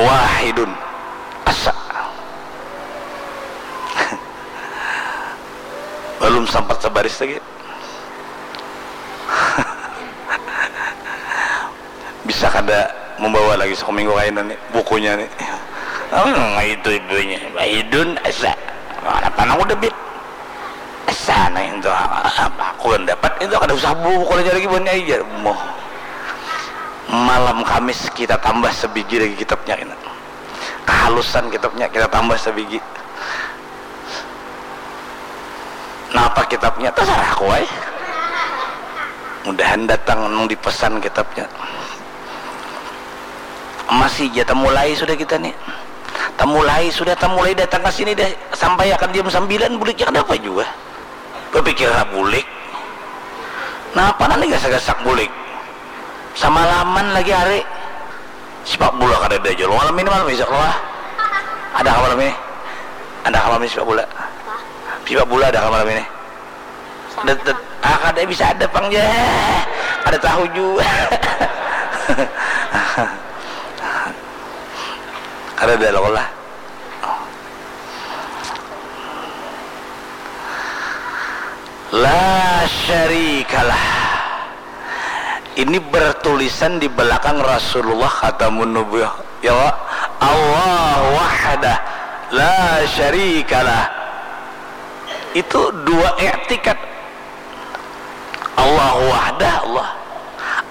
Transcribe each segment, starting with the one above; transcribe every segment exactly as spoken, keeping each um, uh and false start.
Wahidun. Asa. Balum sampat sabaris lagi. Bisa kada mambawa lagi sakuminggu kaina ni bukunya ni. Nang itu ibunya, Wahidun asa. Mana panang udah bit. Asa nang itu apa aku dapat itu kada usah buku lagi lagi buhannya aja. Moh. Malam Kamis kita tambah sabigi lagi kitabnya kena. Kahalusan kitabnya kita tambah sabigi. Napa kitabnya? Tasarah aku ai. Mudahan datang nang dipesan kitabnya. Masih ja tamulai sudah kita ni. Tamulai sudah, tamulai datang ka sini dah sampai akan jam sambilan buliknya kadapa jua. Bapikir ha bulik. Napa nang digasak-gasak bulik? Samalaman lagi hari. Sipak bula kadada jua lo malam ini, malam isuk lo lah. Ada kah malam ini? Ada kah malam ini sipak bula? Sipak bula ada kah malam ini? Det, det, ah, kada bisa ada pang ja. Kada tahu jua. Kada ada lo lah. La syarikalah. Ini bertulisan di belakang Rasulullah Khatamun Nubuwah. Ya, Allah wahdah la syarikalah. Itu dua i'tikad. Allah wahdah, Allah.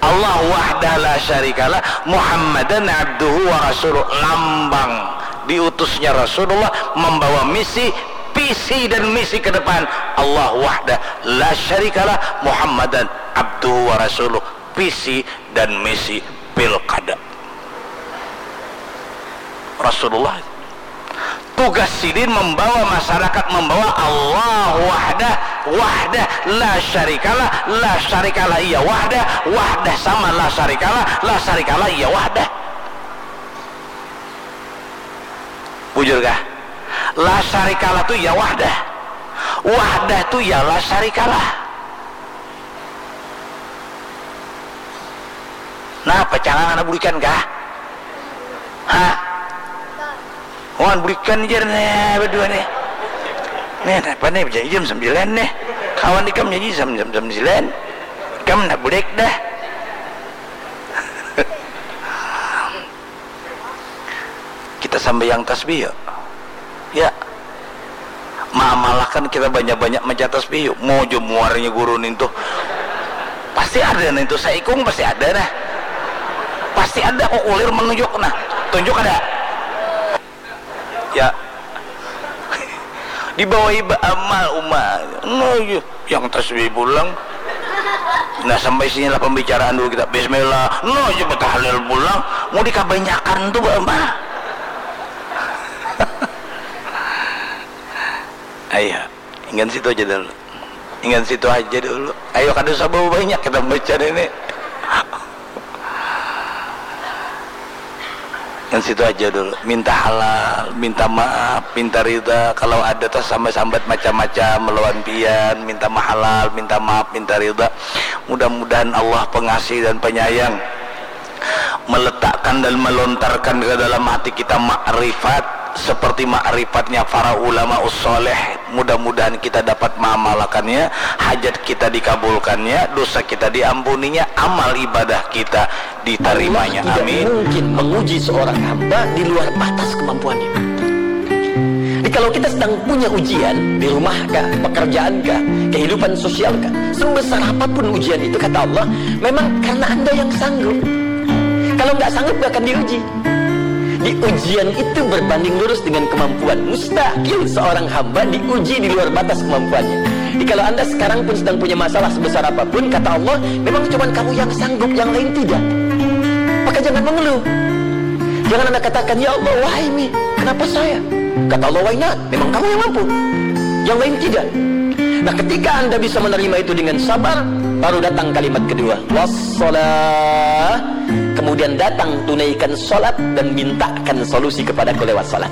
Allah wahdah la syarikalah, Muhammadan abduhu wa rasuluh, lambang diutusnya Rasulullah membawa misi, visi dan misi ke depan. Allah wahdah la syarikalah, Muhammadan abduhu wa rasuluh, visi dan misi pilkada. Rasulullah. Tugas sidin membawa masyarakat, membawa Allah wahdah, wahdah la syarikalah, la syarikalah iya wahdah, wahdah sama la syarikalah, la syarikalah iya wahdah. Bujur kah? La syarikalah tu iya wahdah. Wahdah tu iya la syarikalah. Nah, pacangan anak bulikan kah? Ha? Wan bulikan jar nih berdua nih. Nih, apa nih, berjanji jam sembilan nih. Kawan ikam janji jam, jam, jam sembilan. Ikam nak bulik dah. Kita sambayang tasbih yuk. Ya. Maamalakan kita banyak-banyak maca tasbih yuk. Mau jo muarnya guru nintu. Pasti ada nintu, saikung pasti ada nah. Pasti ada kok kulir menunjuk nah. Tunjuk ada. Ya. Dibawa iba amal umat. Nah, iya. Yang tasbih pulang. Nah, sampai sini lah pembicaraan dulu kita. Bismillah. Nah, aja tahlil pulang. Mau dikabanyakan tu ba mah. Ayo, ingin situ aja dulu. Ingin situ aja dulu. Ayo, kada usah bawa banyak kita baca ini. Yang situ aja dulu. Minta halal, minta maaf, minta rida. Kalau ada tersambat-sambat macam-macam melawan pian, minta mahalal, minta maaf, minta rida. Mudah-mudahan Allah pengasih dan penyayang meletakkan dan melontarkan ke dalam hati kita makrifat seperti makrifatnya para ulama ussoleh. Mudah-mudahan kita dapat mengamalkannya, hajat kita dikabulkannya, dosa kita diampuninya, amal ibadah kita ditarimanya. Allah tidak Amin. Mungkin menguji seorang hamba di luar batas kemampuannya. Jadi kalau kita sedang punya ujian di rumah kah, pekerjaan kah, kehidupan sosial kah, sebesar apapun ujian itu, kata Allah, memang karena Anda yang sanggup. Kalau nggak sanggup, nggak akan diuji. Di ujian itu berbanding lurus dengan kemampuan. Mustahil seorang hamba diuji di luar batas kemampuannya. Jadi kalau Anda sekarang pun sedang punya masalah sebesar apapun, kata Allah, memang cuma kamu yang sanggup, yang lain tidak. Maka jangan mengeluh. Jangan Anda katakan, "Ya Allah, why me? Kenapa saya?" Kata Allah, "Why not? Memang kamu yang mampu. Yang lain tidak." Nah, ketika Anda bisa menerima itu dengan sabar, baru datang kalimat kedua, "Wassalah." Kemudian datang, tunaikan salat dan mintakan solusi kepadaku lewat salat.